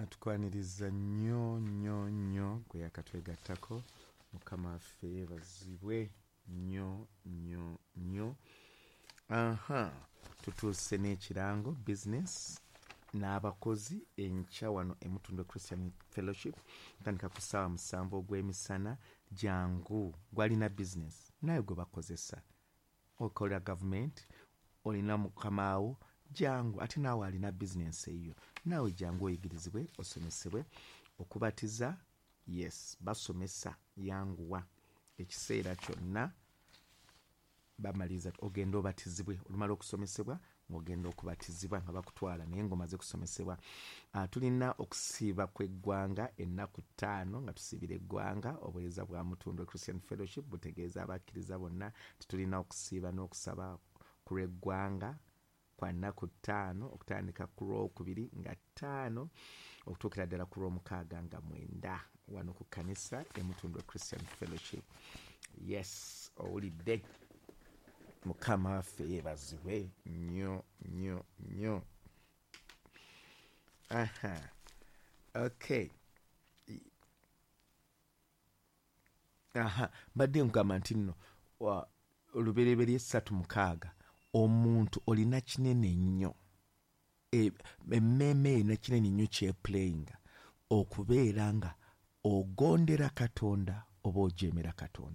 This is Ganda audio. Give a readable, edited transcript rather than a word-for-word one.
Tukwaniriza nnyo nnyo nnyo gwe yakatwegattako. Mukama waffe yeebazibwe nnyo nnyo nnyo. Aha, tutuuse n'ekirango business n'abakozi enkya wano e Mutundwe Christian Fellowship, tandika ku ssaawa 7 ogw'emisana. Jangu gwalina business naye gwe bakozesa, okolera gavumenti, olina mukamaawo, jangu. Ate naawe alina bizinensi eyo, naawe jangu oyigirizibwe, osomesebwe okubatiza. Yes, basomesa, yanguwa ekiseera kyonna bamaliriza ogenda obatizibwe. Olumala okusomesebwa ng'ogenda okubatizibwa nga bakutwala, naye ng'omaze kusomesebwa. Tulina okusiiba kw'eggwanga ennaku 5 nga tusiibira eggwanga. Obuweereza bwa Mutundwe Christian Fellowship butegeeza abakkiriza bonna nti tulina okusiiba n'okusaba ku lw'eggwanga kwa nnaku 5, okutandika ku Lwokubiri nga 5 okutuukira ddala ku Lwomukaaga nga 9, wano ku kkanisa e Mutundwe Christian Fellowship. Yes, owulidde, Mukama waffe yeebazibwe nnyo nnyo nnyo. Aha, okay. Aha, mbadde nkugamba nti nno Olubereberye 3:6, omuntu olina kinene nnyo, emmeeme erina kinene nnyo kyeplayinga okubeera nga ogondera Katonda oba ojeemera Katonda.